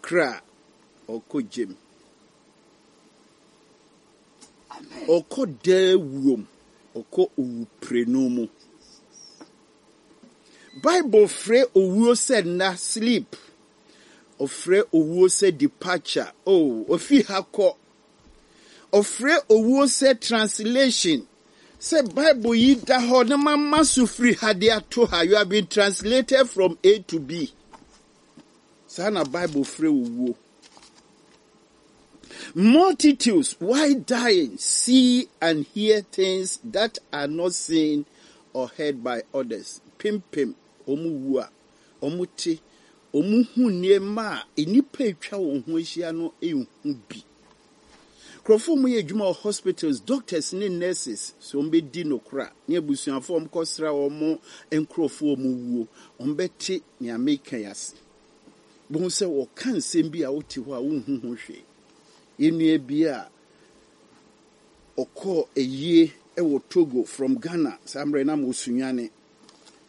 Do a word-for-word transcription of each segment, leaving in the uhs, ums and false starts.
kra ɔkɔ gyem. Ɔkɔ daa wuom, ɔkɔ owuprenu mu. Bible frɛ owuo sɛ nna, sleep. Ɔfrɛ owuo sɛ departure. Oh, ofi ha kɔ. Ɔfrɛ owuo sɛ translation. Sɛ Bible yi da hɔ na mama so firi ha de ato ha. You have been translated from A to B. Saa na Bible frɛ owuo. Multitudes, while dying, see and hear things that are not seen or heard by others. Pimpim, ɔmo wu a, ɔmo te, ɔmo hu nneɛma a nnipa atwa wɔn ho ahyia no nhu bi. Nkurɔfoɔ a wɔyɛ adwuma wɔ hospitals, doctors ne nurses, so wɔn bɛdi nokora ne abusuafoɔ a wɔkɔsra wɔn nkurɔfoɔ a wɔn wuo, wɔn bɛte nea meka yi ase. Bohu sɛ wɔka nsɛm bi a wote hɔ a wonhu ho hwee. Yɛn nua bi a ɔkɔɔ ayie wɔ Togo from Ghana, saa mmerɛ na mo Sunyani.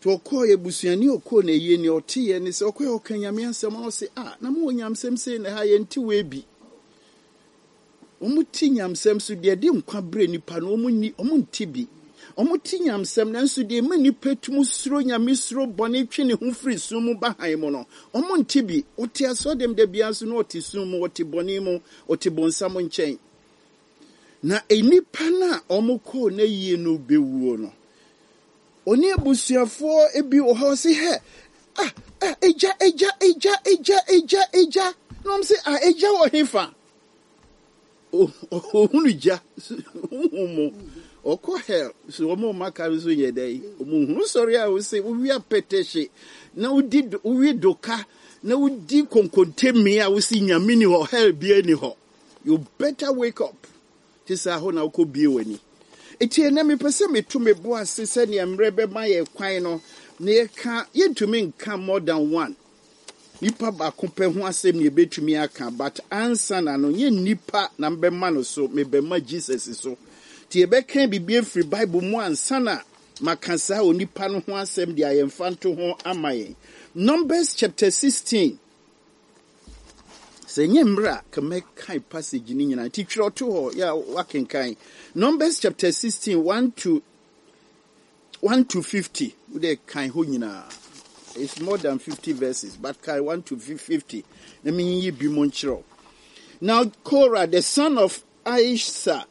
Nti ɔkɔɔ abusuani a ɔkɔɔ n'ayie nea ɔteeɛ ne sɛ ɔkɔɛ ɔka Nyame asɛm na ɔse, ah, na mowɔ nyamsɛm sei na ha yɛnte wei bi. Wɔn te nyamsɛm so deɛ de nkwa brɛ nipa no, wɔn ni, wɔn nte bi. Wɔn te nyamsɛm nanso deɛ ɛma nipa tum suro Nyame suro bɔne twe ne ho firi sum mu ba han mu no, wɔn nte bi. Ɔte asɔdɛm da biara nso na ɔte sum mu, ɔte bɔne mu, ɔte bonsam nkyɛn. Na nnipa no a wɔn kɔɔ n'ayie no bɛwuo no, ɔne abusuafoɔ bi wɔ hɔ ɔse hɛ, ah, ah, egya, egya, egya, egya, egya, egya. Na wɔn sɛ, ah, egya wɔ hefa? Ohunu gya, huhu mu. Ɔkɔ hell, so wɔn a wɔn aka nso yɛ dɛ. Wɔn hunu sɔre a wɔsɛ wowi apɛtɛhye, na wodi wowi doka, na wodi konkontemi a wosi Nyame ni hɔ, hell bia ni hɔ. You better wake up. Te sɛ ahɔ na wokɔ bie w'ani. Eti ɛnɛ mepɛ sɛ meto me bo ase sɛnea mmerɛ bɛma yɛ kwan no, na yɛka yɛntumi nka more than one. Nipa baako pɛ ho asɛm na yɛbɛtumi aka, but ansa na no, nyɛ nipa na mbɛma no so, mebɛma Jesus so. Nti yɛbɛka biribi afiri Bible mu ansa na maka saa onipa no ho asɛm de a yɛmfa nto ho ama yɛn. Numbers chapter sixteen. Sɛ nyɛ mmerɛ a, ka mɛkan passage no nyinaa. Nti twerɛ to hɔ, yɛ a wakenkan. Numbers chapter sixteen, one to one to fifty. Wode kan hɔ nyinaa. It's more than fifty verses, but kan one to fifty. Na menyiyi bi mu nkyerɛ wo. Now Korah, the son of Izhar,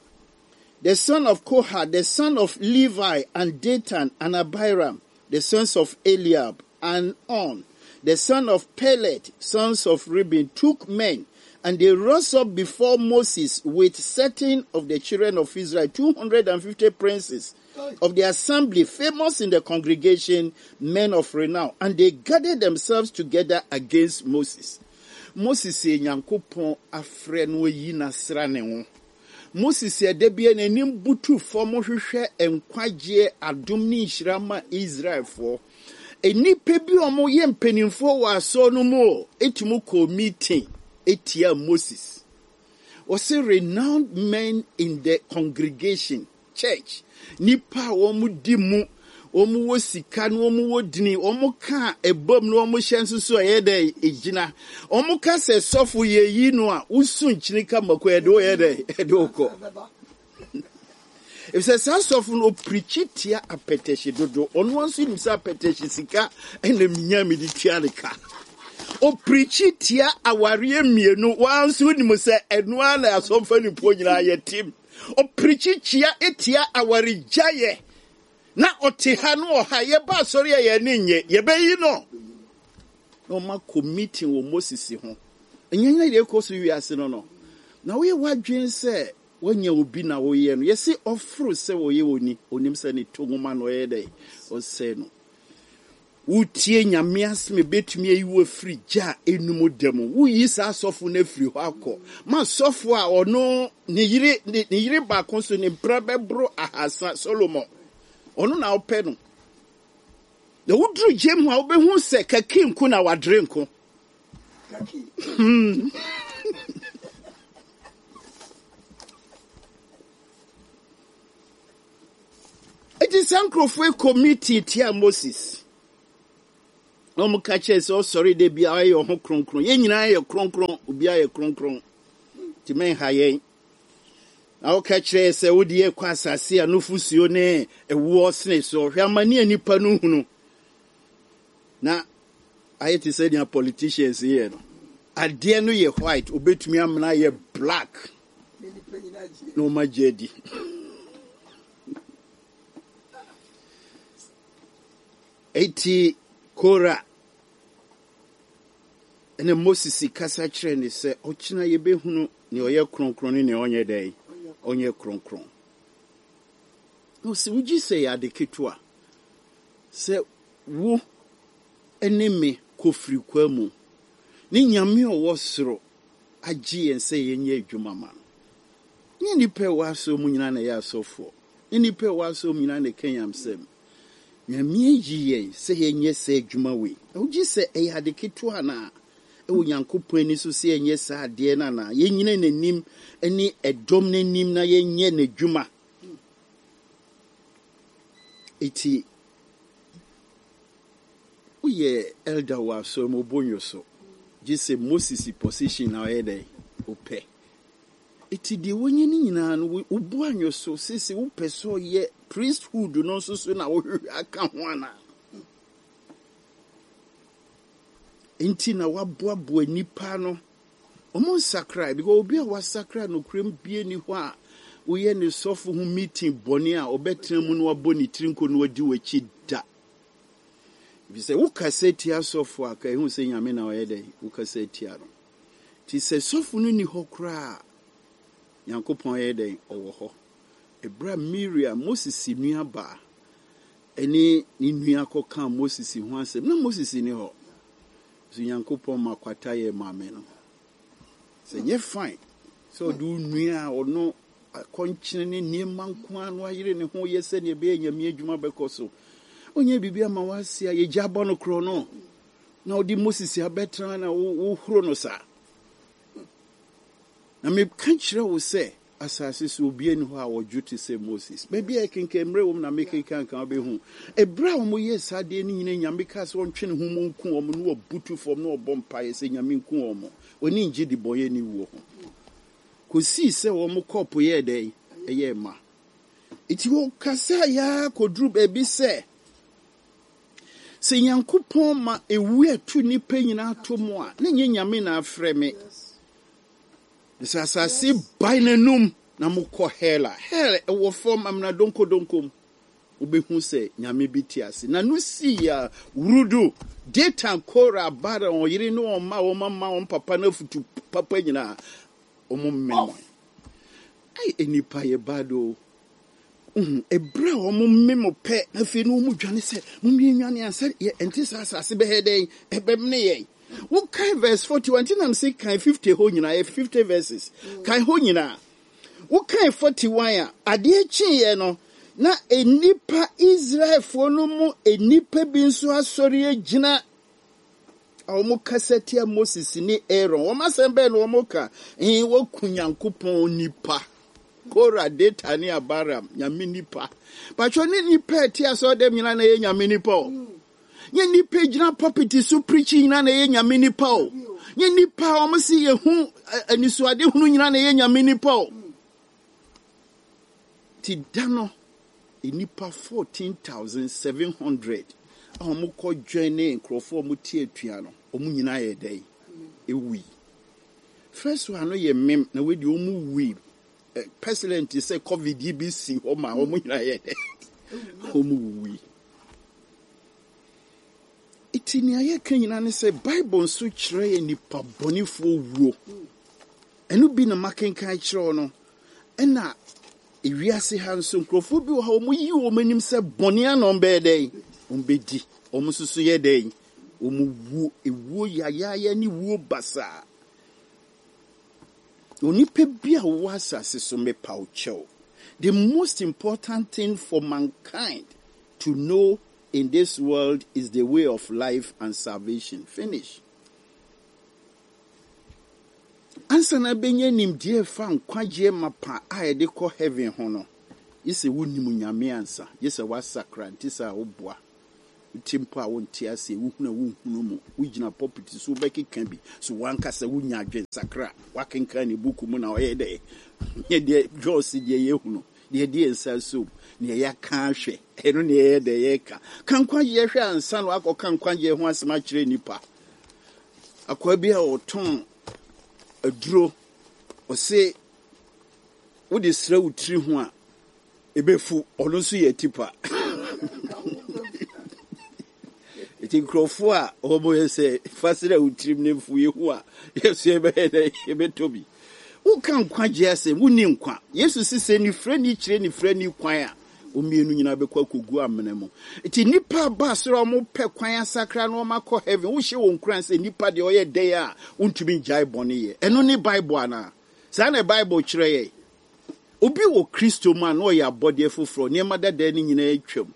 the son of Kohath, the son of Levi, and Dathan and Abiram, the sons of Eliab, and On, the son of Pelet, sons of Reuben, took men, and they rose up before Moses with certain of the children of Israel, two hundred and fifty princes of the assembly, famous in the congregation, men of renown, and they gathered themselves together against Moses. Moses yɛ Nyankopɔn afrɛ no ayi n'asra ne ho. Moses yɛ da bi n'anim butu fam hwehwɛ nkwagyeɛ adom ne nhyira ma Israelfoɔ. Nnipa bi a wɔyɛ mpanimfoɔ wɔ asɔre no mu o, etumi kɔ meeting etia Moses. Wɔsi renowned men in the congregation, church. Nipa a wɔn di mu, wɔn wɔ sika na wɔn wɔ dini, wɔn ka ɛbom na wɔn hyɛ nso so ɛyɛ dɛ egyina. Wɔn ka sɛ sɔfo yɛ yi no a, wosu nkyini ka mako ɛde wɔyɛ dɛ ɛde wɔkɔ. Efisɛ saa sɔfo no opirikyi tia apɛtɛhye dodo. Ɔno nso nim sɛ apɛtɛhye sika ɛna minya mi de tua ne ka. Opirikyi tia awareɛ mmienu, wɔn nso nim sɛ ɛnoa na asɔmfa nipo nyinaa yɛ tim. Opirikyi tia etia awaregyaeɛ. Na ɔte ha no ɔha yɛba asɔre a yɛn ani nye yɛbɛyi no. Na ɔma kɔ meeting wɔ Moses ho. Ɛnyɛ nyɛ deɛ ɛkɔ so wiase no no. Na woyɛ w'adwene sɛ woanya obi na woyɛ no. Yɛsi ɔforo sɛ wɔyɛ oni, onim sɛ ne to nwoma na ɔyɛ dɛ ɔsɛe no. Wotie Nyame asɛm ebetumi ayi wo afiri gya a enum da mu. Woyi saa asɔfo no afiri hɔ akɔ. Ma sɔfo a ɔno ne yere ne, ne yere baako so ne mpra bɛboro ahasa Solomon. Ɔno na ɔpɛ no. Na woduru gyem hɔ a wobɛhu sɛ kaki nko na wadere nko. Kaki. Hmm. Eti saa nkurɔfoɔ yi kɔ meeting tia Moses. Na wɔn ka kyerɛ sɛ ɔsɔre de bi a ɔyɛ ɔho kronkron. Yɛn nyinaa yɛ kronkron, obiara yɛ kronkron. Nti mɛnha yɛn. Na wɔka kyerɛ sɛ wode yɛ kɔ asase a nufusuo ne ɛwoɔ sene so. Hwɛ amane a nipa no hunu. Na ayɛ te sɛ nea politicians yɛ no. Adeɛ no yɛ white, obetumi amena yɛ black. Na wɔn agye adi. Eti Kora ɛna Moses kasa kyerɛ ne sɛ ɔkyena yɛbɛhunu nea ɔyɛ kronkron ne nea ɔnyɛ dɛn ɔnyɛ kronkron. Na ɔsi wogye sɛ yɛ ade ketewa sɛ wo ne me kɔfiri kwa mu ne Nyame a ɔwɔ soro agye yɛn sɛ yɛnyɛ adwuma ma no. Nyɛ nnipa a ɛwɔ asɔre mu nyinaa na ɛyɛ asɔfoɔ. Nyɛ nnipa a ɛwɔ asɔre mu nyinaa na ɛka nyamsɛm. Nyame ayi yɛn sɛ yɛnyɛ saa adwuma wei. Na wogye sɛ ɛyɛ ade ketewa anaa? Ɛwɔ Nyankopɔn ani so sɛ yɛnyɛ saa adeɛ no anaa? Yɛnyina n'anim ne ɛdɔm n'anim na yɛnyɛ n'adwuma. Eti woyɛ elder wɔ asɔre mu obonyo so. Gye sɛ Moses position na ɔyɛ dɛn? Wopɛ. Eti deɛ wɔnyɛ no nyinaa no, wobu anwo so sisi wopɛ sɛ ɔyɛ priesthood no nso so na wohwehwɛ aka ho ana. Nti na waboaboa nipa no. Ɔmo nsakra because obi a wasakra no kurom bie ni hɔ a woyɛ ne sɔfo ho meeting bɔne a ɔbɛtena mu na wabɔ ne tiri nko na wadi w'akyi da. Ebi sɛ wokasa tia sɔfo a ka ehu sɛ Nyame na ɔyɛ dɛn wokasa tia no. Nti sɛ sɔfo no ni hɔ koraa Nyankopɔn yɛ dɛn ɔwɔ hɔ. Ebra Miriam, Moses nua baa ɛne ne nua kɔka Moses ho asɛm na Moses ni hɔ. So Nyankopɔn ma kwata yɛ maame no. Sɛ nyɛ fine sɛ ɔde wo nua a ɔno akɔnkyene ne nneɛma nko ara no ayere ne ho yɛ sɛnea ɛbɛyɛ Nyame adwuma bɛkɔ so. Ɔnyɛ biribi ama wase a yɛgya abɔ no korɔ no. Na ɔde Moses abɛtena na wohoro no saa. Na meka kyerɛ wo sɛ asase so obi ani hɔ a wɔdwo te sɛ Moses. Baabi a ɛkenkan mmerɛ wɔ mu na mekenkan nka wobɛhu. Ɛberɛ a wɔyɛɛ saa adeɛ no nyinaa Nyame kaa sɛ ɔntwe ne ho mu nku wɔn na wɔbutu fam na wɔbɔ mpaeɛ sɛ Nyame nku wɔn. Wɔni ngye de bɔnyɛ ne wuo ho. Kɔsii sɛ wɔn kɔɔpo yɛɛ dɛn? Ɛyɛɛ ma. Nti wɔkasa yaa kɔduru baabi sɛ sɛ Nyankopɔn ma ewu ɛto nnipa nyinaa to mu a, na nyɛ Nyame na afrɛ me. Sɛ asase bae n'anum na mokɔ hell a, hell ɛwɔ fam amena donkodonkom. Wobɛhu sɛ Nyame bi te ase. Na no sii a wurudu, Datan, Kora, Abiram, ɔyere ne wɔn mma, wɔn mama, wɔn papa no afutu papa nyinaa, wɔn mmɛn. Ai, nnipa yɛ bad o. Ɛberɛ a wɔn mmem pɛ, na afei na wɔn dwane sɛ, mommie nwane ansa yɛ ɛnte saa asase bɛyɛ dɛn, ɛbɛmene yɛn. Wokae verse forty-one, nti nam sɛ kan fifty hɔ nyinaa, yɛ fifty verses. Kan hɔ nyinaa. Wokae forty-one a, adeɛ kyeeɛ no, na nnipa Israelfoɔ no mu nnipa bi nso asɔre agyina a wɔn kasa tia Moses ne Aaron. Wɔn asɛm bɛn na wɔn ka? Ɛn, wɔku Nyankopɔn nipa. Kora, Datan ne Abiram, Nyame nipa. Patro ne nipa a ɛte asɔre dɛm nyinaa na ɛyɛ Nyame nipa o. Nye nipa gyina pulpit so preach nyinaa na ɛyɛ Nyame nipa o. Nye nipa a wɔn si yɛ hu anisoade hunu nyinaa na ɛyɛ Nyame nipa o. Ti da no, nipa fourteen thousand seven hundred a wɔn kɔ join ne nkurɔfoɔ a wɔn te atua no, wɔn nyinaa yɛ dɛ ewui. First one no yɛ mem na wei deɛ wɔn wui. Pestilence sɛ COVID yi bi si hɔ ma wɔn nyinaa yɛ dɛ wɔn wui. Eti nea yɛka nyinaa ne sɛ Bible nso kyerɛ yɛ nipa bɔnefoɔ wuo. Ɛno bi na makenkan kyerɛw no. Ɛna ewiase ha nso nkurɔfoɔ bi wɔ ha wɔn yi wɔn anim sɛ bɔne ano bɛyɛ dɛn wɔn bɛdi. Wɔn nso so yɛ dɛn wɔn wuo ewuo yayaaya ne wuo basaa. Onipa bi a wɔwɔ asase so mepa wo kyɛw. The most important thing for mankind to know in this world is the way of life and salvation. Finish. Ansa na bɛnya nimdeɛ fa nkwagyeɛ mapa a yɛde kɔ heaven ho no, gye sɛ wonim Nyame ansa, gye sɛ woasakra nti sɛ woboa. Wote mpo a wonte aseɛ, wohunu a wonhunu mu, wogyina pulpit so wobɛkeka bi, so wankasa wonya adwensakra, wakenkan ne buku mu na ɔyɛ dɛ, nyɛ deɛ dwɔɔse deɛ yɛhunu, deɛ deɛ nsa som, deɛ yɛaka ahwɛ, ɛno ne ɛyɛ dɛ yɛka. Ka nkwagyeɛ hwɛ ansa na wakɔka nkwagyeɛ ho asɛm akyerɛ nnipa. Akwaa bi a ɔtɔn aduro, ɔse wode srɛ wo tiri ho a, ɛbɛfu, ɔno nso yɛ tipa. Nti nkurɔfoɔ a wɔn yɛ sɛ fa srɛ wo tirim ne mfu yɛhu a, yɛso yɛbɛyɛ dɛ yɛbɛtɔ bi. Woka nkwagyeɛ asɛm, wonni nkwa. Yesu si sɛ nifirani kyerɛ nifirani kwan a, wɔn mmienu nyinaa bɛkɔ akɔgu amena mu. Nti nnipa aba soro a wɔpɛ kwan asakra na wɔn akɔ heaven, wohyɛ wɔn nkuran sɛ nnipa deɛ ɔyɛ dɛn a, wontumi ngyae bɔne yɛ. Ɛno ne Bible anaa? Saa na Bible kyerɛ yɛn. Obi wɔ Kristo mu a na ɔyɛ abɔdeɛ foforɔ, nneɛma dada no nyinaa atwam.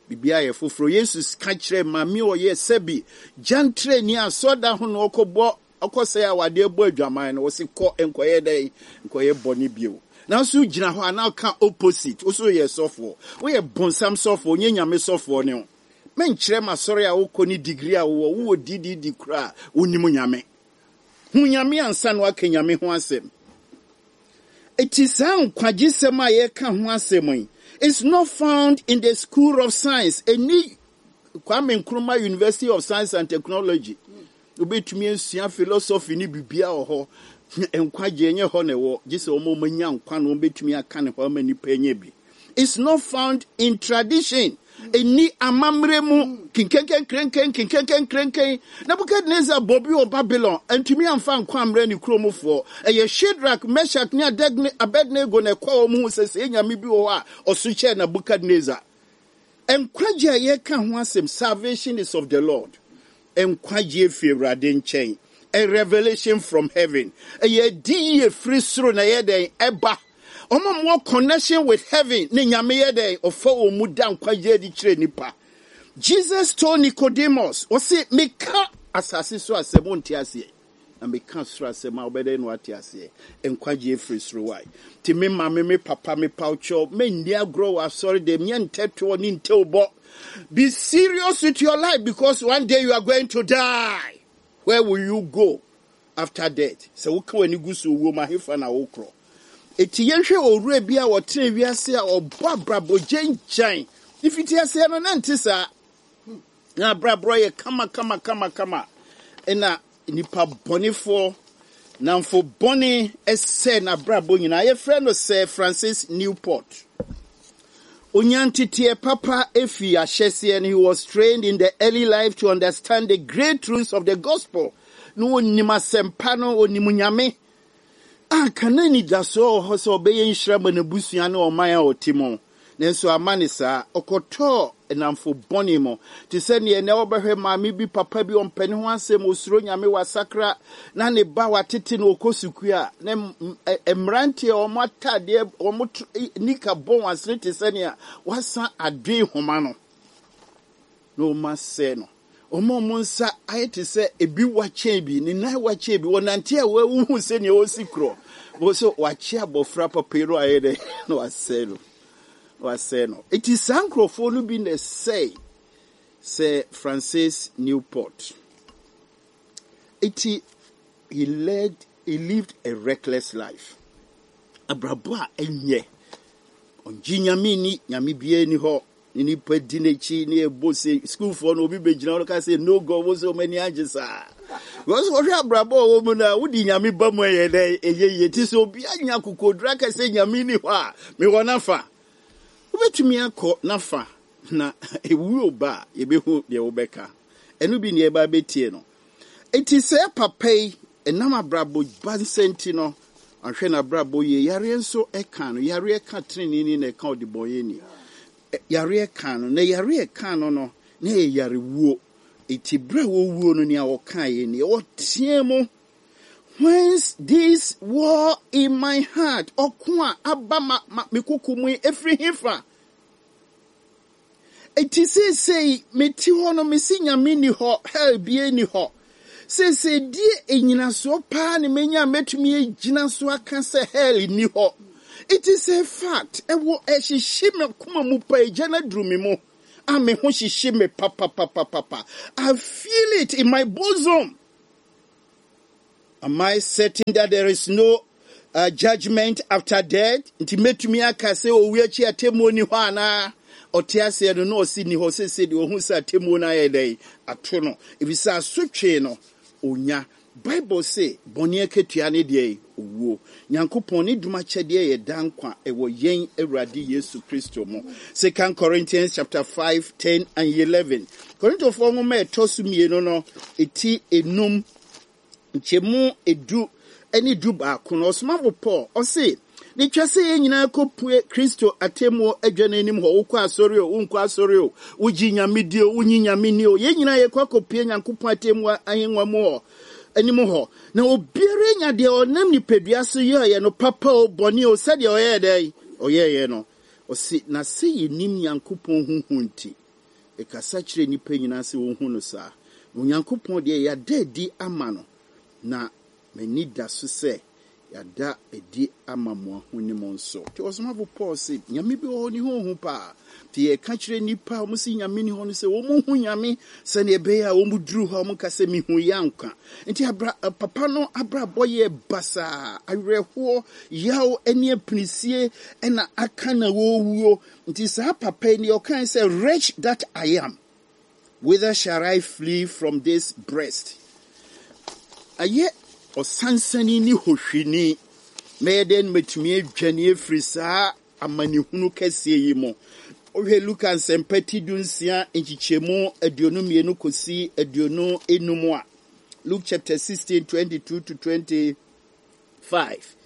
Biribiara yɛ foforɔ. Yesu ka kyerɛ maame a ɔyɛ sɛbi gyantrani asɔda ho na ɔkɔbɔ ɔkɔsɛe awadeɛ bɔ adwaman no, wɔsi kɔ nkɔyɛ dɛn nkɔyɛ bɔne bio. Nanso gyina hɔ a na ɔka opposite. Woso yɛ sɔfoɔ, woyɛ bonsam sɔfoɔ, nyɛ Nyame sɔfoɔ ne ho. Menkyerɛ ma sɔre a wokɔ ne degree a wowɔ, wowɔ D D D koraa, wonim Nyame. Hu Nyame ansa na waka Nyame ho asɛm. Eti saa nkwagyesɛm a yɛka ho asɛm yi is not found in the school of science. Ɛni Kwame Nkrumah University of Science and Technology. Wobɛtumi asua philosophy ne bibia wɔ hɔ. Nkwagye nyɛ hɔ na ɛwɔ. Gye sɛ wɔn a wɔanya nkwa na wɔbɛtumi aka ne hɔ ama nipa anya bi. It's not found in tradition. Ɛni amammerɛ mu kinkenkenkrenken kinkenkenkrenken. Nebukadnezar bɔ bi wɔ Babylon, ntumi amfa nkwa ammerɛ ne kuromfoɔ. Ɛyɛ Shadrach, Meshach ne Abednego na ɛkɔ wɔn ho sɛ sɛ Nyame bi wɔ hɔ a ɔso kyɛɛ Nebukadnezar. Nkwagye a yɛka ho asɛm, salvation is of the Lord. Nkwagye fi Awurade nkyɛn. A revelation from heaven. Ɛyɛ di yie firi soro na ɛyɛ dɛn ɛba. Wɔn a wɔwɔ connection with heaven ne Nyame yɛ dɛn ɔfa wɔn mu da nkwagye adi kyerɛ nipa. Jesus told Nicodemus, ɔse meka asase so asɛm wonte aseɛ. Na meka soro asɛm a wobɛdɛn na wate aseɛ. Nkwagye firi soro wae. Nti me maame, me papa, me pawkyɛw, menni agorɔ wɔ asɔre dɛm, nyɛ ntɛtoɔ ne ntɛwbɔ. Be serious with your life because one day you are going to die. Where will you go after death? Sɛ woka w'ani gu so owuo mu ahefa na wokorɔ. Eti yɛnhwɛ owura bi a ɔtena wiase a ɔbɔ abrabɔ gyangyan. Ifiti aseɛ no na nte saa. Na abrabɔ yɛ kama kama kama kama. Ɛna nipa bɔnefoɔ namfo bɔne ɛsɛ n'abrabɔ nyinaa. Yɛfrɛ no Sir Francis Newport. Onyanteteɛ papa efi ahyɛseɛ no, he was trained in the early life to understand the great truths of the gospel. Na onim asɛmpa no, onim Nyame. Anka na anidasoɔ wɔ hɔ sɛ ɔbɛyɛ nhyira ma n'abusua ne ɔman a ɔte mu. Nanso ama ne saa, ɔkɔtɔɔ nnamfo bɔne mu. Te sɛ neɛ nɛ wɔbɛhwɛ maame bi, papa bi, ɔmpɛ ne ho asɛm, osuro Nyame, wasakra, na ne ba watete no ɔkɔ sukuu a, na mmeranteɛ a wɔn atadeɛ, wɔn nika bɔ wɔn asene te sɛ nea wasan adoe homa no. Na wɔn asɛe no. Wɔn a wɔn nsa ayɛ te sɛ ebi wakyɛn bi, ne nan wakyɛn bi, wɔnante a wɔahuhu sɛnea wɔsi korɔ. Wɔn sɛ wakye abɔfra papa yi no ayɛ dɛ na wasɛe no. Wasɛe no. Eti saa nkurɔfoɔ no bi na ɛsɛe Sir Francis Newport. Eti he led he lived a reckless life. Abrabɔ a ɛnyɛ. Ɔngye Nyame ni, Nyame biara ni hɔ. Ne nipa di n'akyi ne ɛbɔ sɛ sukuufoɔ no obi bɛgyina hɔ ka sɛ no God, wo sɛ ɔmo ani agye saa. Because wɔhwɛ abrabɔ a ɔwɔ mu no a, wode Nyame ba mu ɛyɛ dɛ ɛyɛ yie. Ti sɛ obi anya akokoduru aka sɛ Nyame ni hɔ a, mewɔ n'afa. Wobɛtumi akɔ n'afa na ewuo ba a yɛbɛhu deɛ wobɛka. Ɛno bi ne ɛba bɛtie no. Eti sɛ papa yi ɛnam abrabɔ ba nsa nti no, ahwɛ n'abrabɔ yie, yareɛ nso ɛka no, yareɛ ka tenenee na ɛka ɔdebɔnyɛni. Yareɛ ka no, na yareɛ ka no no, na ɛyɛ yarewuo. Eti berɛ a wɔwuo no, nea ɔkaeɛ nie, ɔteɛ mu, "Whence this war in my heart?" Ɔko a aba ma, ma me koko mu yi, ɛfiri hefa? Eti seesei mete hɔ no, mesi Nyame ni hɔ, hell bie ni hɔ. Seesei die enyinasoɔ paa ne menya a mɛtumi agyina so aka sɛ hell ni hɔ. It is a fact. Ɛwɔ ɛhyehye me koma mu pa, egya no aduru me mu. a me ho hyehye me papapapapa. I feel it in my bosom. Am I certain that there is no uh, judgment after death? Nti mɛtumi aka sɛ owu akyi atemmuo ni hɔ anaa? Ɔte aseɛ no na ɔsi ni hɔ sese deɛ ɔhu sɛ atemmuo no ayɛ dɛn ato no, efisɛ asotwe no onya. Bible se bɔne akatua ne deɛ owuo. Nyankopɔn ne dom akyɛdeɛ yɛ da nkwa ɛwɔ yɛn Awurade Yesu Kristo mu. Second Corinthians chapter five, ten and eleven. Korintofoɔ nwoma a ɛtɔ so mmienu no, eti enum, nkyɛmu edu ne du baako no, ɔsomafo Paul ɔse ne twa sɛ yɛn nyinaa kɔpue Kristo atemmuo adwa no anim hɔ. Wokɔ asɔre o, wonkɔ asɔre o, wogye Nyame di o, wonyi Nyame ni o, yɛn nyinaa yɛkɔ akɔpue Nyankopɔn atemmuo ahengua mu hɔ anim hɔ, na obiara nya deɛ ɔnam nipadua so yɛɛyɛ no, papa o, bɔne o, sɛdeɛ ɔyɛɛ dɛn ɔyɛɛyɛ no. Ɔse na sɛ yɛnim Nyankopɔn huhu nti, ɛkasa kyerɛ nnipa nyinaa sɛ wɔhu no saa. Na Onyankopɔn deɛ, yɛada adi ama no, na m'ani da so sɛ yɛada adi ama mo ahonim nso. Nti ɔsomafo Paul se Nyame bi wɔ hɔ ne ho hu paa. Nti yɛka kyerɛ nnipa a wɔn si Nyame ni hɔ no sɛ wɔn hu Nyame sɛnea ɛbɛyɛ a wɔn duru hɔ a wɔn ka sɛ mihu yɛ anka. Nti abra papa no abrabɔ yɛ basaa, awerɛhoɔ, yaw ne apinisie ɛna aka na wɔwuo. Nti saa papa yi deɛ ɔkae sɛ, "Wretch that I am, whither shall I flee from this breast?" Ayɛ ɔsansani ne hohwini, mɛyɛ dɛn mɛtumi adwane afiri saa amanehunu kɛseɛ yi mu? Wohwɛ Luka Nsɛmpa ti du nsia nkyekyɛmu aduonu mmienu kɔsi aduonu enum a, Luke chapter sixteen, twenty-two to twenty-five.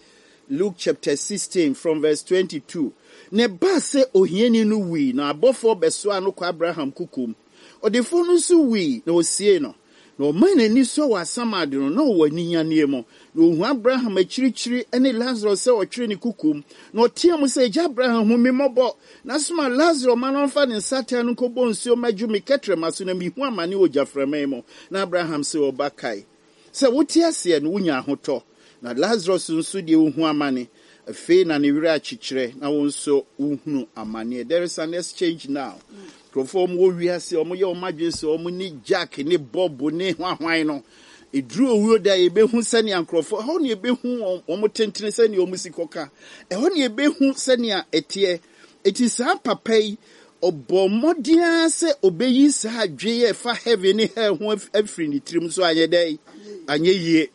Luke chapter sixteen from verse twenty-two. Na ɛbaa sɛ ohiani no wui na abɔfoɔ bɛsoa no kɔ Abraham kukum. Ɔdefoɔ no nso wui na osie no. Na ɔmaa n'ani sɔ wɔ asamado no na ɔwɔ aninyanneɛ mu. Na ohu Abraham akyirikyiri ne Lazaro sɛ ɔtwere ne kukum. Na ɔteɛ mu sɛ, "Agya Abraham, hu me mmɔbɔ. Na soma Lazaro ma no ɔmfa ne nsateaa no nkɔbɔ nsuo mmɛdwo me kɛtrɛma so na mehu amane wɔ gyaframa mu." Na Abraham sɛ, "Ɔba, kae sɛ wote aseɛ no wonya ahotɔ. Na Lazarus nso deɛ ohu amane. Afei na ne werɛ akyekyerɛ na wo nso wohunu amanneɛ." There is an exchange now. Nkurɔfoɔ wɔn wɔ wiase, wɔn yɛ wɔn adwene sɛ wɔn ne Jack ne Bob ne hwanhwan no. Eduru owuo da, yɛbɛhu sɛnea nkurɔfoɔ ɛhɔ na yɛbɛhu wɔn wɔn tentene sɛnea wɔn si kɔka. Ɛhɔ na yɛbɛhu sɛnea ɛteɛ. Eti saa papa yi ɔbɔ mmɔden ara sɛ ɔbɛyi saa adwene a ɛfa heaven ne hell ho afiri ne tirim so, anyɛ dɛn anyɛ yie.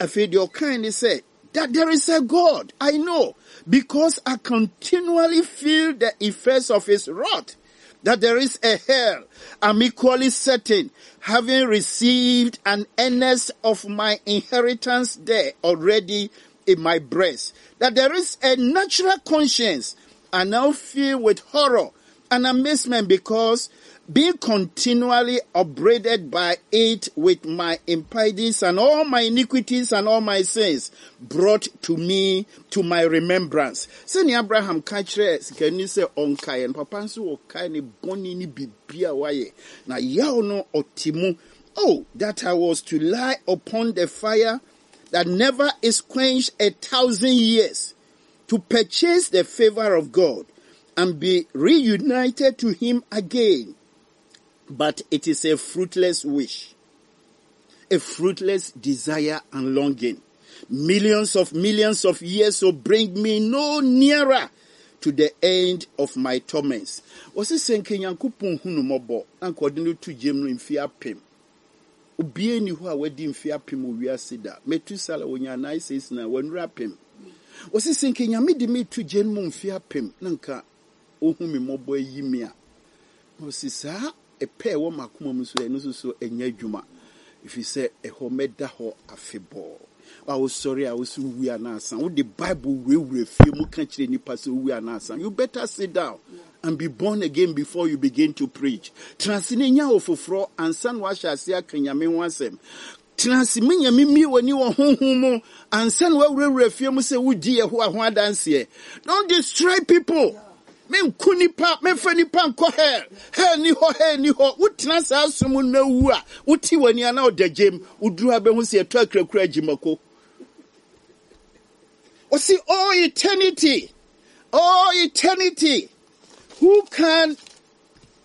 Afei deɛ ɔkan ne sɛ that there is a God, I know, because I continually feel the effects of his wrath. That there is a hell, I'm equally certain, having received an earnest of my inheritance there already in my breast. That there is a natural conscience, I now feel with horror and amazement because, being continually upbraided by it with my impieties and all my iniquities and all my sins brought to me to my remembrance. Sɛnea Abraham ka kyerɛ sikani sɛ ɔnkaeɛ no, papa nso ɔkae ne bɔne ne biribi a wayɛ. Na yaw no ɔte mu. Oh, that I was to lie upon the fire that never is quenched a thousand years to purchase the favor of God and be reunited to him again. But it is a fruitless wish, a fruitless desire and longing. Millions of millions of years will bring me no nearer to the end of my torments. Wɔsi sɛ nka Nyankopɔn hu no mmɔbɔ na nka ɔde no to gyem no mfe apem. Obiara ni hɔ a wadi mfe apem wɔ wiase da. Metusala wonya nine six nine, wɔnura apem. Wɔsi sɛ nka Nyame de me to gyem mu mfe apem na nka ohu me mmɔbɔ ayi me a. Na ɔsi saa ɛpɛ ɛwɔ m'akoma mu so, ɛno nso so ɛnyɛ adwuma. Ɛfiri sɛ ɛhɔ mɛda hɔ afebɔɔ. A wosɔre a wosi wu anaasa wode Bible wurawura fie mu ka kyerɛ nipa sɛ owu anaasa, you better sit down and be born again before you begin to preach. Tena ase na nya wo foforɔ ansa na wahyɛ ase aka Nyame ho asɛm. Tena ase me Nyame mmie w'ani wɔ honhom mu ansa na wawurawura fie mu sɛ wodi Yehowa ho adanseɛ. Don't destroy people. Menku nipa, memfa nipa nkɔ hell. Hell ni hɔ, hell ni hɔ. Wotena saa som na wu a, wote w'ani a na ɔda gyem. Woduru abɛhu sɛ yɛtɔ akurakura agyimako. Ɔsi, "Oh eternity, oh eternity, who can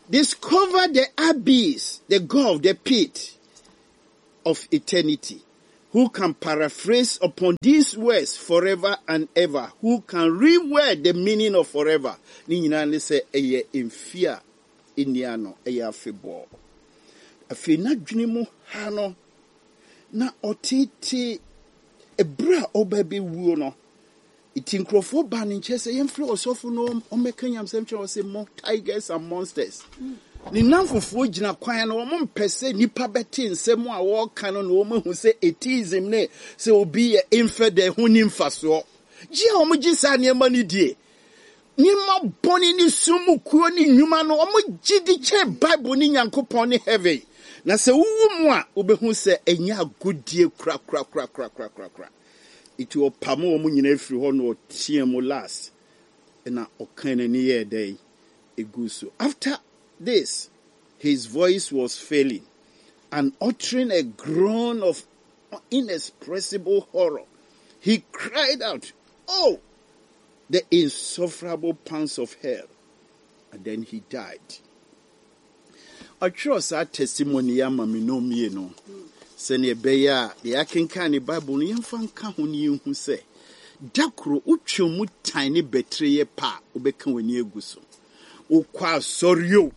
Discover the abyss, the gulf, the pit of eternity. Who can paraphrase upon these words forever and ever? Who can reword the meaning of forever? Ne nyinaa ne sɛ ɛyɛ mfe a ɛnni ano, ɛyɛ afebɔɔ. Afei n'adwene mu ha no, na ɔtete ɛberɛ a ɔba bɛwuo no, nti nkurɔfoɔ baa ne nkyɛn sɛ yɛmfrɛ ɔsɔfo no ɔmmɛka nyamsɛm kyerɛ ɔsɛ mo tigers and monsters. Ne namfofoɔ gyina kwan no, wɔn mpɛ sɛ nnipa bɛte nsɛm a wɔreka no na wɔn ahu sɛ atheism ne sɛ obi yɛ infidel ho ni mfasoɔ. Gye a wɔn gye saa nneɛma no die. Nneɛma bɔne ne sum mu kuo ne nnwuma no, wɔn gye di kyɛn Bible ne Nyankopɔn ne heaven. Na sɛ wowu mu a, wobɛhu sɛ ɛnyɛ agodie korakorakorakorakorakora. Nti ɔpam wɔn nyinaa firi hɔ na ɔteɛ mu last. Ɛna ɔka n'ani yɛɛ dɛn egu so. After this, his voice was failing and uttering a groan of inexpressible horror, he cried out, Oh, the insufferable pangs of hell. And then he died. Ɔtwerɛ saa testimony yi ama me no mmienu sɛnea ɛbɛyɛ a deɛ akenkan ne Bible no yɛmfa nka ho ne yɛnhu sɛ da koro wotwe mu tan ne bɛtire yɛ pa a wobɛka w'ani agu so. Wokɔ asɔre o,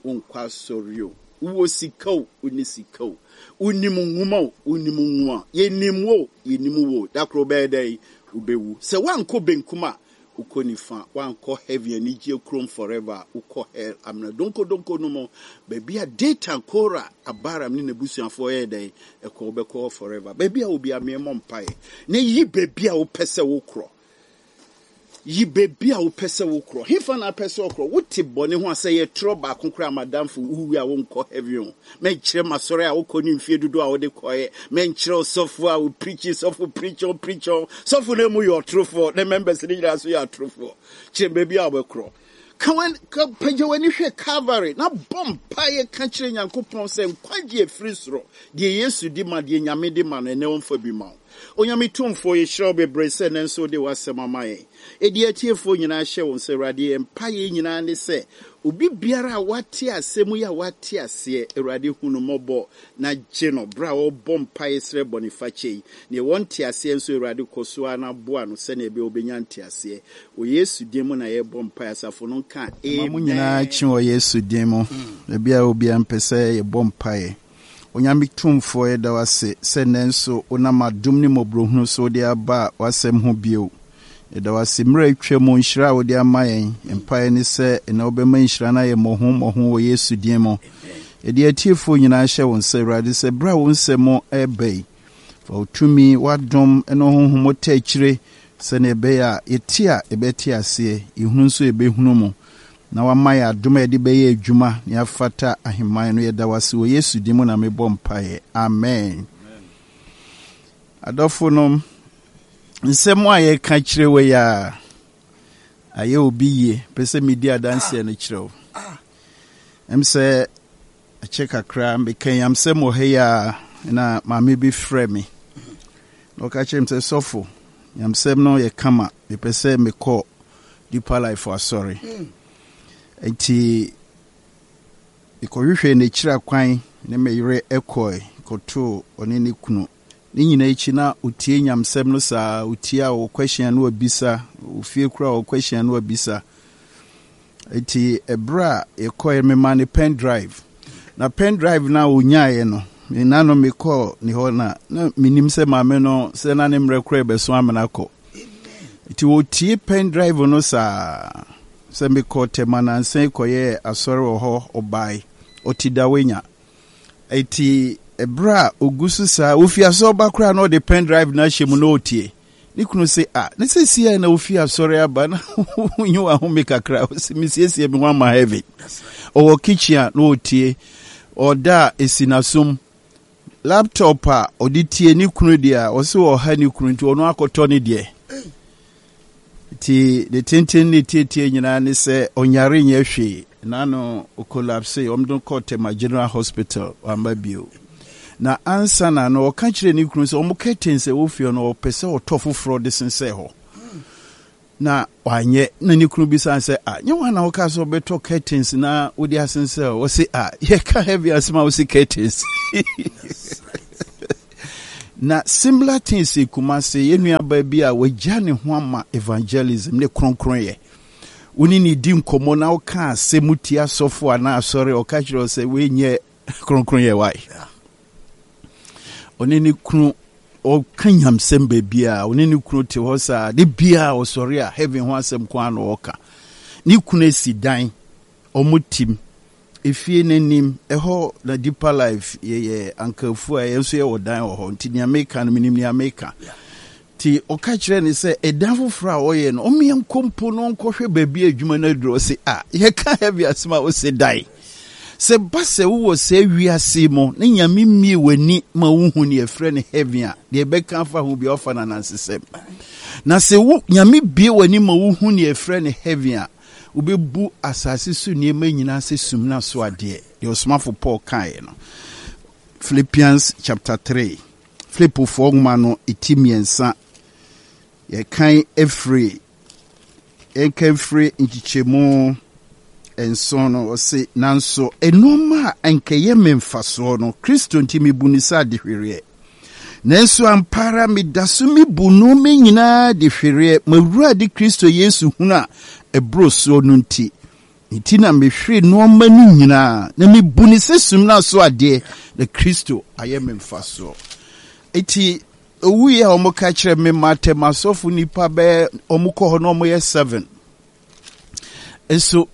wonkɔ asɔre o, wowɔ sika o, wonni sika o, wonim nwoma o, wonim nwoma, yɛnim wo, yɛnim wo, da koro wobɛyɛ dɛn? Wobɛwu. Sɛ woankɔ benkum a, wokɔ nifa, woankɔ heaven anigye kurom forever, wokɔ hell amena donkodonko no mu, baabi a Datan, Kora, Abaram ne n'abusuafoɔ yɛ dɛn? Ɛkɔ wobɛkɔ hɔ forever. Baabi a obi ameɛmmɔ mpaeɛ na yi baabi a wopɛ sɛ wokorɔ. Yi baabi a wopɛ sɛ wokorɔ. Hefa na apɛ sɛ wokorɔ? Wote bɔne ho a sɛ yɛtorɔ baako koraa madamfo wowu a wonkɔ heaven o. Mɛnkyerɛ masɔre a wokɔ ne mfie dodoɔ a wode kɔɛ. Mɛnkyerɛ ɔsɔfo a wopreach, sɔfo preach on preach on. Sɔfo no mu yɛ ɔtorofoɔ na members no nyinaa so yɛ atorofoɔ. Kyerɛ baabi a wobɛkorɔ. Ka w'ani, ka pagya w'ani hwɛ Calvary na bɔ mpaeɛ ka kyerɛ Nyankopɔn sɛ nkwagye afiri soro. Deɛ Yesu di ma, deɛ Nyame di ma no, ɛnɛ ɔmfa bi ma wo. Onyame tumfoɔ, yɛhyira wo bebree sɛ ɛnnɛ nso wode w'asɛm ama yɛn. Ɛdi atiefoɔ nyinaa hyɛ wɔn sɛ Awurade yɛn mpaeɛ nyinaa ne sɛ obi biara a wate asɛm yi a wate aseɛ, Awurade hu no mmɔbɔ na gye no berɛ a ɔrebɔ mpaeɛ srɛ bɔnefakyɛ yi. Neɛ wɔnte aseɛ nso Awurade kɔ so ara na boa no sɛnea ɛbɛyɛ wobɛnya nteaseɛ. Wɔ Yesu din mu na yɛrebɔ mpaeɛ. Asafo no nka amen. Mo nyinaa kye wɔ Yesu din mu. Baabi a obiara mpɛ sɛ yɛbɔ mpaeɛ. Onyame tumfoɔ, yɛda wo ase sɛ nnɛ nso wonam adom ne mmɔborɔhunu so wode aba w'asɛm ho bio. Yɛda wo ase mmerɛ atwa mu nhyira a wode ama yɛn. Mpaeɛ ne sɛ ɛnɛ wobɛma nhyira no ayɛ mmɔho mmɔho wɔ Yesu din mu. Yɛde atiefoɔ nyinaa hyɛ wo nsa Awurade sɛ berɛ a wo nsɛm ɛreba yi, fa wo tumi, w'adom ne honhom ta akyire sɛnea ɛbɛyɛ a yɛte a yɛbɛte aseɛ, yɛhunu nso yɛbɛhunu mu. Na wama yɛ adom a yɛde bɛyɛ adwuma na yɛafata ahemman no. Yɛda wo ase wɔ Yesu din mu na mebɔ mpaeɛ. Amen. Adɔfo no, nsɛm a yɛka kyerɛ wɔ yi a ayɛ obi yie, pɛ sɛ medi adanseɛ no kyerɛ wo. Ɛm sɛ akyɛ kakra meka nyamsɛm wɔ ha yi a na maame bi frɛ me. Na ɔka kyerɛ me sɛ sɔfo, nyamsɛm no yɛ kama, mepɛ sɛ mekɔ Deeper Life asɔre. Nti mekɔhwehwɛ n'akyiri akwan ne me yere ɛkɔe kɔtoo ɔne ne kunu. Ne nyinaa akyi na otie nyamsɛm no saa, otie a ɔkɔ no abisa, ofie kora ɔkɔ no abisa. Nti ɛberɛ a yɛkɔɛ mema ne pen drive. Na pen drive na onyaeɛ no, me nano mekɔɔ ne hɔ na na menim sɛ maame no sɛ na ne mmerɛ koraa ɛbɛso amena kɔ. Nti wɔtie pen drive no saa sɛ mekɔ Tema nansa kɔyɛɛ asɔre wɔ hɔ ɔbae ɔte Dawenya. Nti ɛberɛ a ogu so saa ofi asɔre ba koraa na ɔde pen drive no ahyɛ mu na ɔtie. Ne kunu sɛ a ne sɛ sie na ofi asɔre aba na wonyi wahome kakra ɔsɛ mesiesie me ho ama heaven. Ɔwɔ kitchen a na ɔtie. Ɔda a esi n'asom. Laptop a ɔde tie ne kunu deɛ a ɔsɛ ɔha ne kunu nti ɔno akɔtɔ ne deɛ. Nti ne tenten ne tietie nyinaa ne sɛ ɔnyare nyɛ hwee. N'ano ɔcollapse, ɔmo de kɔɔ Tema General Hospital wamba bio. Na ansa na no ɔka kyerɛ ne kunu sɛ ɔmo curtains a ɛwɔ fie no ɔpɛ sɛ ɔtɔ foforɔ de sensɛn hɔ. Na wanyɛ na ne kunu bisa sɛ, "Ah, nyɛ wɔn na wɔka sɛ ɔbɛtɔ curtains na wode asensɛ?" Wɔsi, "Ah, yɛka heavy asɛm a wɔsi curtains." Na similar things Kumase, yɛn nuabaa bi a wagya ne ho ama evangelism ne kronkron yɛ, wone ne di nkɔmmɔ na woka asɛm tia asɔfo anaa asɔre, ɔka kyerɛ wo sɛ woenyɛ kronkron yɛ wae. Ɔne ne kunu ɔka nyamsɛm baabi a ɔne ne kunu te hɔ saa de biaa ɔsɔre a, heaven ho asɛm ko a na ɔka. Ne kunu asi dan, ɔmo tim efie n'anim ɛhɔ na Deeper Life yɛyɛ ankafu a yɛn nso yɛwɔ dan wɔ hɔ, nti nea meka no, menim nea meka. Nti ɔka kyerɛ ne sɛ ɛdan foforɔ a ɔyɛ no, ɔmeɛ nkɔ mpo no ɔnkɔhwɛ baabi a adwuma no aduru. Ɔse, "A, yɛka heavy asɛm a ɔse dan." Sɛ ba sɛ wowɔ saa wiase mu na Nyame mmie w'ani ma wohu ne yɛfrɛ no heaven a, deɛ ɛbɛka afa ho bia ɔfa no anansesɛm. Na sɛ wo Nyame bie w'ani ma wohu ne yɛfrɛ no heaven a, wobɛbu asase so nneɛma nyinaa sɛ sum no so adeɛ. Deɛ ɔsomafo Paul kaeɛ no, Philippians chapter three, Filipofoɔ nwoma no ɛti mmiɛnsa, yɛkan ɛfiri yɛnka mfiri nkyekyɛmu nson no, ɔse, "Nanso nneɛma a ɛnkɛyɛ me mfasoɔ no, Kristo nti mebu ne sɛ adehwereɛ. Nanso ampa ara meda so mebu nneɛma nyinaa de hwereɛ, m'Awurade Kristo Yesu hunu a ɛboro soɔ no nti. Nti na mehwere nneɛma no nyinaa na mebu ne sɛ sum no aso adeɛ, na Kristo ayɛ me mfasoɔ." Eti owu yi a wɔn ka kyerɛ me ma atɛm asɔfo nipa bɛyɛ wɔn kɔ hɔ na wɔn yɛ seven. Nso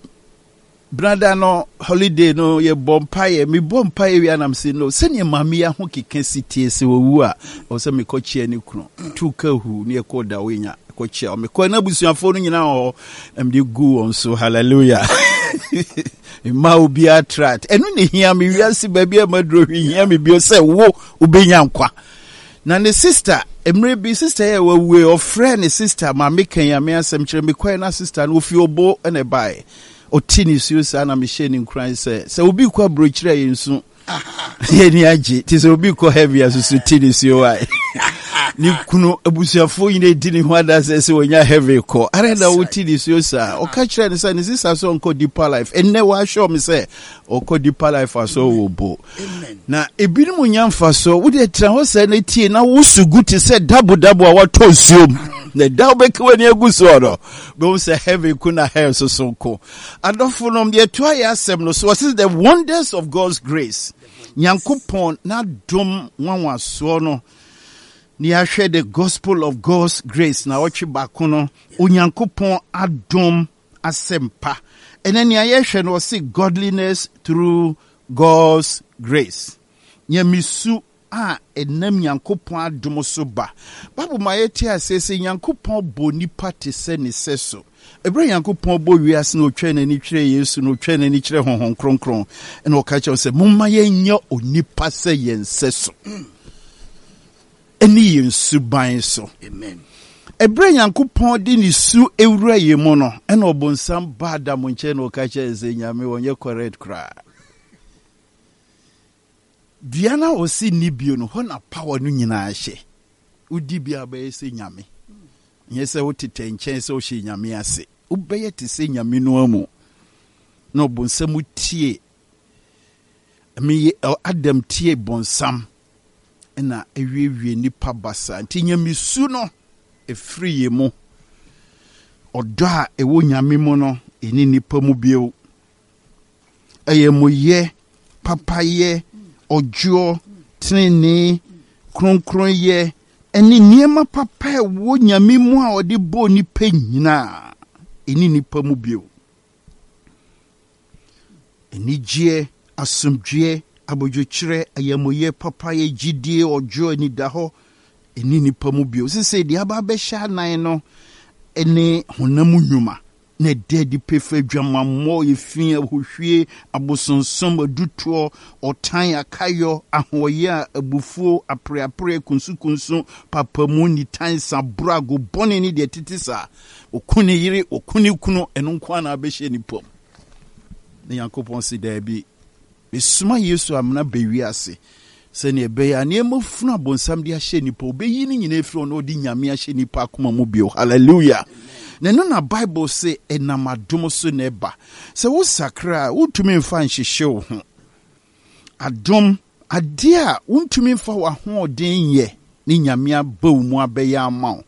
brada no, holiday no, yɛbɔ mpaeɛ, mebɔ mpaeɛ wie anam sɛ no sɛnea maame yi aho keka si tie sɛ wɔwu a, ɛwɔ sɛ mekɔkyea ne kunu tu ka hu ne yɛkɔ da wonya kɔkyea. Mekɔ na abusuafoɔ no nyinaa wɔ hɔ na mede gu wɔn so. Hallelujah! Mma obiara tract. Ɛno ne hia me wiase baabi a maduro hwee hia me bio sɛ wo wobɛnya nkwa. Na ne sister, mmerɛ bi sister yɛ wawue, ɔfrɛ ne sister maame kan ame asɛm kyerɛ. Mekɔɛ na sister no ofi Obo ɛna ɛbaeɛ, ɔte ne suo saa na mehyɛ ne nkuran sɛ sɛ obi kɔ aburokyerɛ a, yɛ nsu yɛni agye te sɛ obi kɔ heavy asusu te ne suo a ne kunu abusuafoɔ nyina di ne ho adasɛ sɛ wɔnya heavy kɔ ara na wote ne suo saa. Ɔka kyerɛ ne sɛ ne sister sɛ ɔnkɔ Deeper Life. Ɛnnɛ wɔahyɛ me sɛ ɔkɔ Deeper Life asɔ wɔ bo na ebinom nya mfasoɔ. Wode tena hɔ sɛ no tie na wosu gu te sɛ dabodabo a watɔ nsuom na da wobɛka w'ani agu soɔ no, bɛhu sɛ heaven ko na hell soso nko. Adɔfo nom, yɛto ayɛ asɛm no so, wɔse the wonders of God's grace, Nyankopɔn n'adom nwanwasoɔ no ne yɛahwɛ, the gospel of God's grace na ɔtwe baako no, Onyankopɔn adom asɛmpa. Ɛnɛ nea yɛhwɛ no, ɔse godliness through God's grace, nyamesu a ɛnam Nyankopɔn adom so ba. Bible ma yɛte aseɛ sɛ Nyankopɔn bɔ nipa te sɛ ne sɛ so. Ɛberɛ Nyankopɔn bɔ wiase na ɔtwa n'ani kyerɛ Yesu na ɔtwa n'ani kyerɛ Honhom Kronkron, ɛna ɔka kyerɛ sɛ, "Momma yɛnyɛ onipa sɛ yɛn sɛ so ɛne yɛn suban so." Amen. Ɛberɛ Nyankopɔn de ne su ewura yɛn mu no, ɛna ɔbonsam ba Adam nkyɛn na ɔka kyerɛ sɛ Nyame wɔnyɛ correct koraa. Dua no a ɔsi nni bio no, hɔ na power no nyinaa hyɛ. Wodi bia, bɛyɛ sɛ Nyame. Nyɛ sɛ wotetɛ nkyɛn sɛ wohyɛ Nyame ase, wobɛyɛ te sɛ Nyame no amu. Na ɔbonsam tie meyɛ Adam tie bonsam na awiewie nipa basa. Nti nyamesu no ɛfiri yɛ mu. Ɔdɔ a ɛwɔ Nyame mu no ɛne nipa mu bio. Ɛyɛ moyɛ, papayɛ, ɔdwoɔ, tenenee, kronkronyɛ ɛne nneɛma papa a ɛwɔ Nyame mu a ɔde bɔɔ nipa nyinaa ɛne nipa mu bio. Anigyeɛ, asomdwoeɛ, abodwokyerɛ, ayamuyɛ, papayɛ, gyidie, ɔdwoɔ, anidahɔ ɛne nipa mu bio. Sesei deɛ aba abɛhyɛ anan no ɛne honam nnwuma na ɛda adi pefe: adwamammɔ, efi, ahohwie, abosonsom, adutoɔ, ɔtan, akayɔ, ahoɔyɛ a abufuo, apreapre, kunsukunsu, papamu, nitan, saboro, agobɔne ne deɛ tete saa. Ɔku ne yere, ɔku ne kunu, ɛno nko ara na abɛhyɛ nipa mu. Na Nyankopɔn si daabi, mesoma Yesu amena bɛwiase sɛnea ɛbɛyɛ a nneɛma funu abonsam de ahyɛ nipa, ɔbɛyi no nyinaa firi hɔ na ɔde Nyame ahyɛ nipa akoma mu bio. Hallelujah! Na ɛno na Bible se ɛnam adom so na ɛba. Sɛ wosakra a, wontumi mfa nhyehye wo ho. Adom, adeɛ a wontumi mfa w'ahoɔden nyɛ ne Nyame aba wo mu abɛyɛ ama wo.